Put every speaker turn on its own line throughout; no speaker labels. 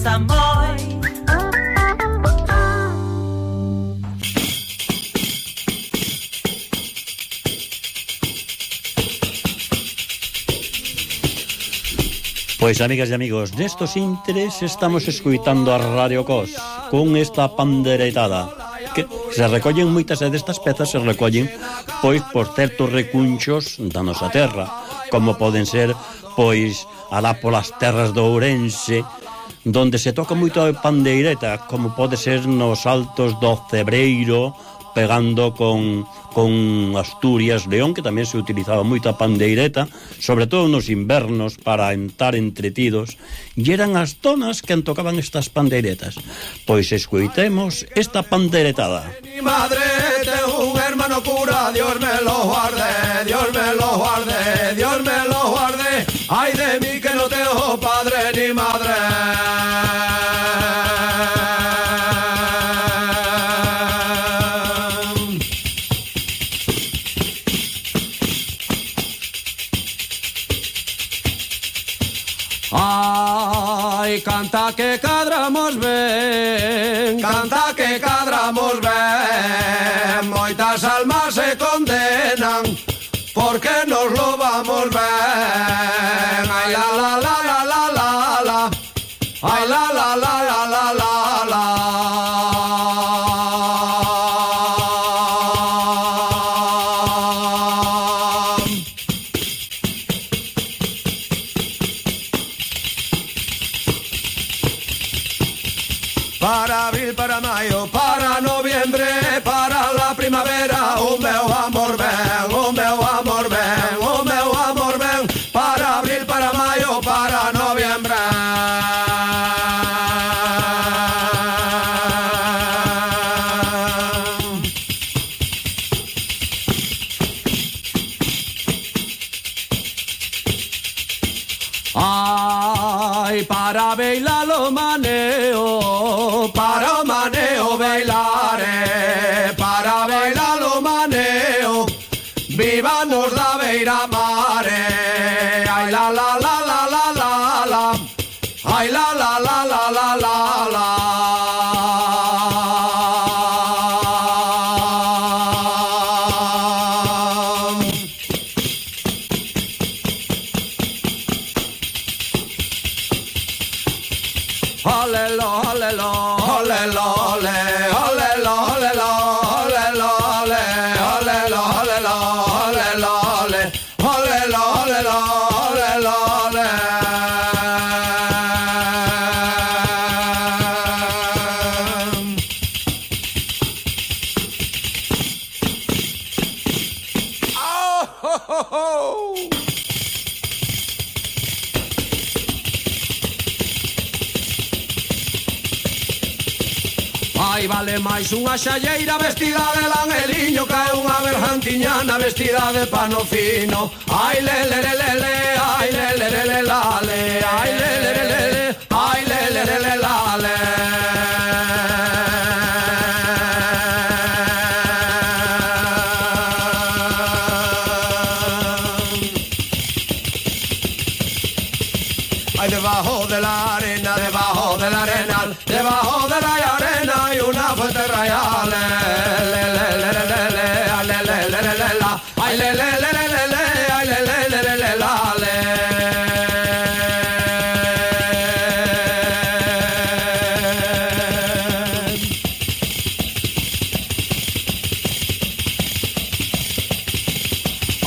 gustan moi.
Pois, amigas e amigos, nestos intres estamos escuitando a Radio Cos con esta panderetada que se recollen moitas destas pezas, se recollen pois por certos recunchos da nosa terra, como poden ser pois alá polas terras do Ourense, donde se toca moito a pandeireta, como pode ser nos altos do Cebreiro, pegando con Asturias, León, que tamén se utilizaba moito a pandeireta, sobre todo nos invernos, para estar entretidos, e eran as zonas que tocaban estas pandeiretas. Pois escoitemos esta pandeiretada.
Mi madre, tengo un hermano cura, Dios me lo guarde, Dios me lo guarde, Dios me lo guarde, ay de mí que no tengo padre ni madre. Ay, canta que cadramos ben, canta que cadramos ben, moitas almas se condenan, porque nos lo vamos ben. Ay, la la la la la la la, ay, la la la la la la la. Para abril, para mayo, para noviembre, para la primavera, o meu amor ven, o meu amor ven, o meu amor ven, para abril, para mayo, para noviembre. Ay, para bailar lo maneo, para o maneo bailare, para bailar lo maneo, vívanos da beira mare, ay la la la la la la la, ay la la la la la la la. Olelo, olelo, olelo, ole, olelo, olelo, olelo, ole, olelo, olelo, olelo, ole, olelo, olelo, olelo, ole. Oh, ho, ho, ho. Ai, vale máis unha xalleira vestida de langeliño que unha bergantiñana vestida de pano fino. Ai, le, le, le, le, le, ai, le, le, le, le, la, le, ai, le, le, le, le, le, ai, le, le, le, le, la, le. Ay, debajo de la arena, debajo del arenal, debajo de la arena hay una fuente real. Le, le, le, le, le, le, ay, le, le, le, le, le, la, ay, le, le, le, le, le, le, ay, le, le, le, le, le, la, le.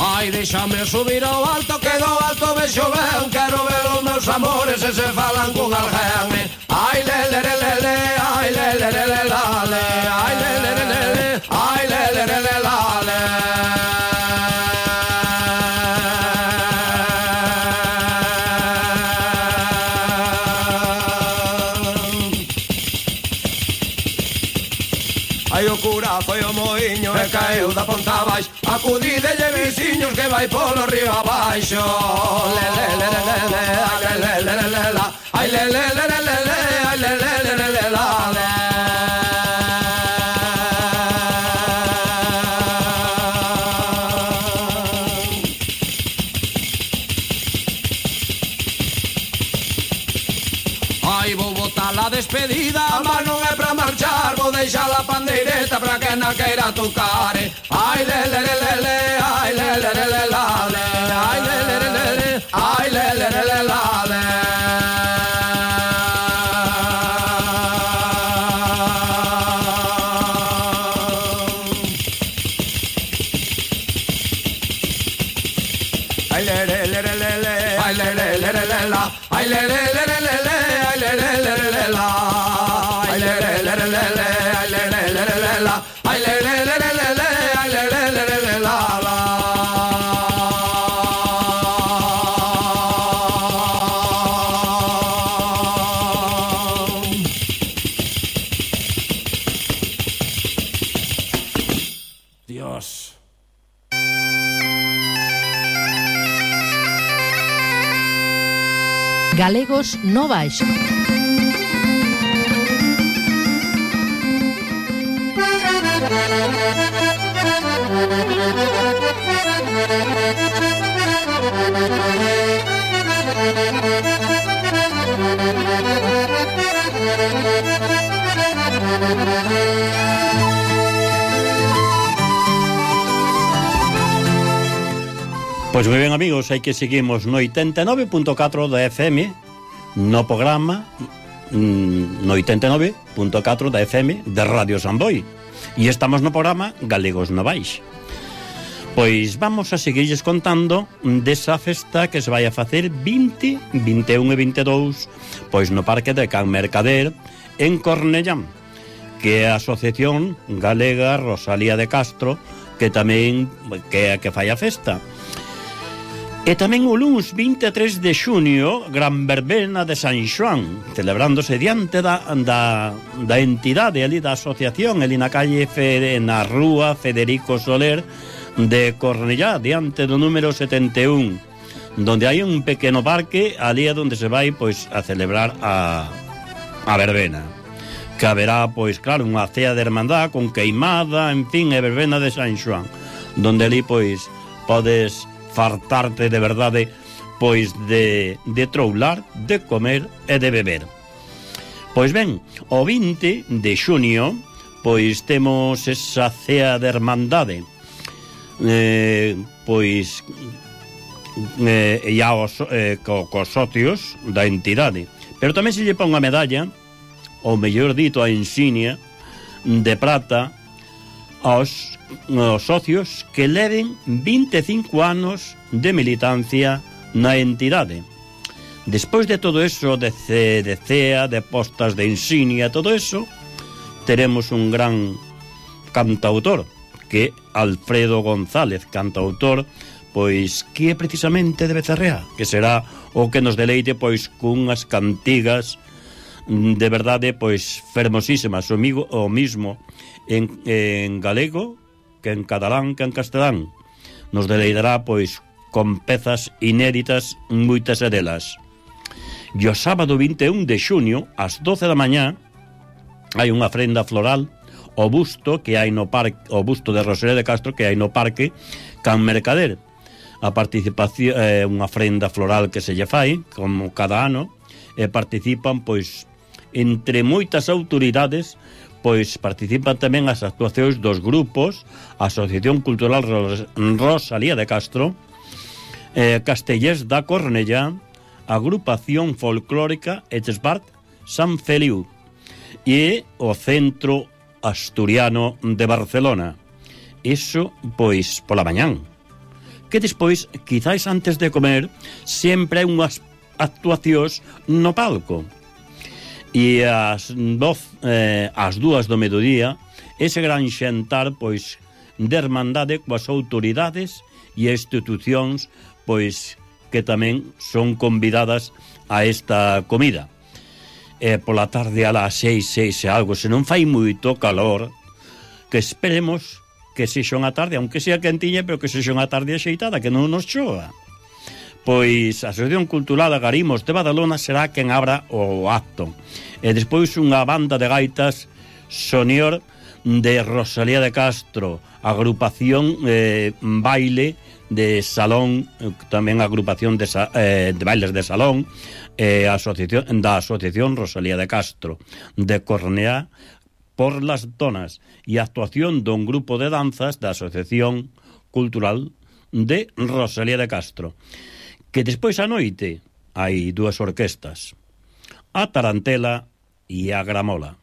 Ai, déxame subir ao alto, que do alto vexo ben, quero ver os meus amores e se falan con alguén. Ai, le, le, le, le, le, ai, le, le, le, le, la, le, ai, le, le, le, le, le, ai, le, le, le, le, la, le. Ai, o cura foi o moiño e caeu da ponta abaixo, acudidelle veciños que vai polo río abaixo. Le, le, le, le, le, le, ai, le, le, le, le, la, ai, le, le, le, le, le, le, ai, le, le, le, le, le, la, le. Ai, vou botar la despedida, mas non é pra marchar, vou deixar a pandeireta pra que na queira tocar. Ai, le, le, le, le, le, ai, le, le, le, le, la, le, ai, le, le, le, le, le, ai, le, le, le, le, la, le. Ai, le, le, le, le, le, le, ai, le, le, le, le, le, la, ai, le, le, le, le, le, le, ai, le, le, le, le, le, la, ai, le, le, le, le, le, le, ai, le, le, le, le, le, la, ai, le, le, le, le, le, le, ai, le, le, le, le, le, la, la. Dios.
Galegos no baixo.
Pois moi ben, amigos, hai que seguimos no 89.4 da FM, no programa no 89.4 da FM de Radio Samboy, e estamos no programa Galegos no Baix. Pois vamos a seguirles contando desa festa que se vai a facer 20, 21 e 22 pois no Parque de Can Mercader en Cornellán, que é a Asociación Galega Rosalía de Castro, que tamén que é a que fai a festa. E tamén o luns 23 de xunio, gran verbena de San Xoán, celebrándose diante da entidade ali da asociación, ali na calle na rúa Federico Soler de Cornellá, diante do número 71, donde hai un pequeno parque, ali é onde se vai pois a celebrar a verbena, que haberá pois claro unha cea de hermandad con queimada, en fin, e verbena de San Xoán, donde ali pois podes fartarte de verdade pois de troular, de comer e de beber. Pois ben, o 20 de xunio pois temos esa cea de hermandade, pois ya cos socios da entidade, pero tamén se lle pon a medalla, ou mellor dito a insignia de prata aos socios que leven 25 anos de militancia na entidade. Despois de todo eso, de cea, de postas de insignia, todo eso, teremos un gran cantautor, que é Alfredo González, cantautor, pois que é precisamente de Becerrea, que será o que nos deleite pois cunhas cantigas de verdade pois fermosísimas, o mismo en galego que en catalán, que en castelán. Nos deleitará pois con pezas inéditas, moitas delas. E o sábado 21 de xunio, ás 12 da mañá, hai unha ofrenda floral o busto que hai no parque, o busto de Rosalía de Castro que hai no Parque Can Mercader. A participación é unha ofrenda floral que se lle fai como cada ano, e participan pois entre moitas autoridades, pois participan tamén as actuacións dos grupos Asociación Cultural Rosalía de Castro, Castellers da Cornellá, Agrupación Folclórica Esbart San Feliu e o Centro Asturiano de Barcelona. Iso, pois, pola mañán. Que despois, quizáis antes de comer, sempre hai unhas actuacións no palco. E ás 2 do mediodía, ese gran xantar, pois, de hermandade coas autoridades e institucións, pois, que tamén son convidadas a esta comida. Pola tarde a las 6 e algo, se non fai moito calor, que esperemos que sexa unha tarde, aunque sea quentiña, pero que sexa unha tarde axeitada, que non nos chova. Pois a Asociación Cultural Agarimos de Badalona será quen abra o acto. E despois unha banda de gaitas Sonior de Rosalía de Castro, agrupación baile de salón, tamén a agrupación de bailes de salón, a asociación Rosalía de Castro de Cornellá por las Donas e a actuación dun grupo de danzas da Asociación Cultural de Rosalía de Castro. Que despois a noite hai dúas orquestas, a Tarantela e a Gramola.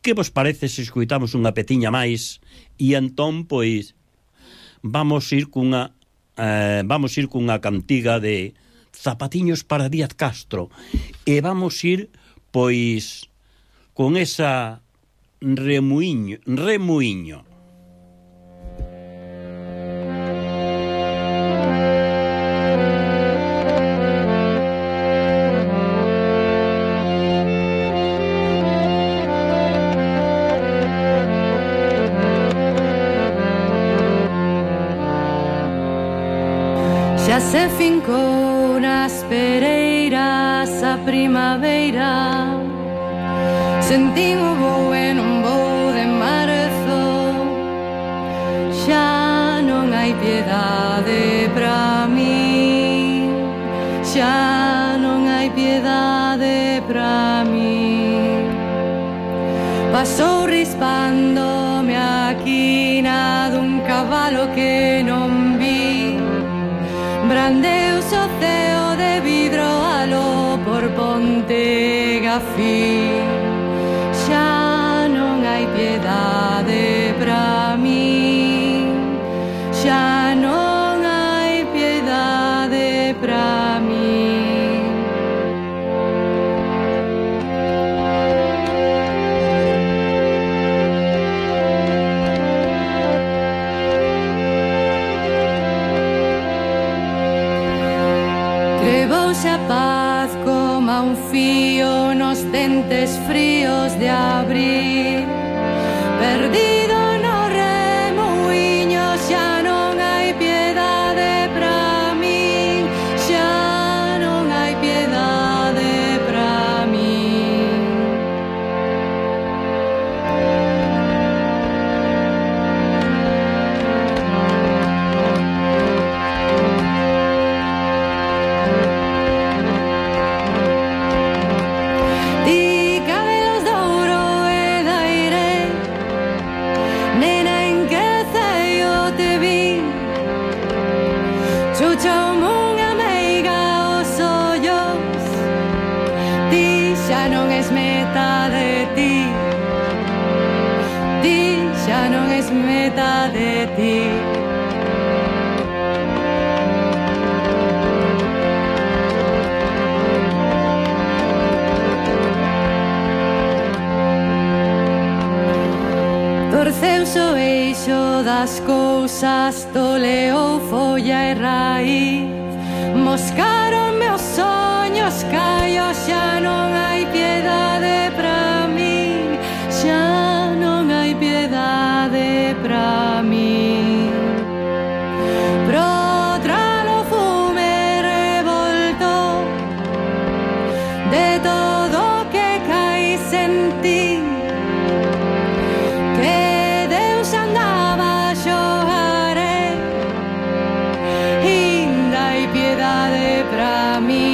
Que vos parece se escoitamos unha petiña máis e entón, pois, vamos ir cunha cantiga de Zapatiños para Díaz Castro e vamos ir, pois, con esa remuiño.
Xa se fincou nas pereiras a primavera, sentín o voo e non vou de marzo. Xa non hai piedade pra mí, xa non hai piedade pra mí. Pasou rispándome a quina dun cabalo que non vi, brandeus o ceo de vidro aló por Ponte Gafí. Xa non hai piedade pra mí, xa non hai piedade pra mí. Crevouse a paz como un fío nos dentes fríos de abril, perdido no remuiño, xa non hai piedade pra min, xa non hai piedade pra min. Ti cabelos de ouro e de aire, nena en que ceio te vi, chucha unha meiga os ollos, ti xa non es meta de ti, ti xa non es meta de ti. Torceuse o eixo das cousas, toleou folla e raíz, moscaronme os soños, callo, xa non hai piedade pra min, xa non hai piedade pra min. Pro tralo fume revolto de todo o que cai sentín, que Deus andaba a xogare, inda hai piedade pra mí.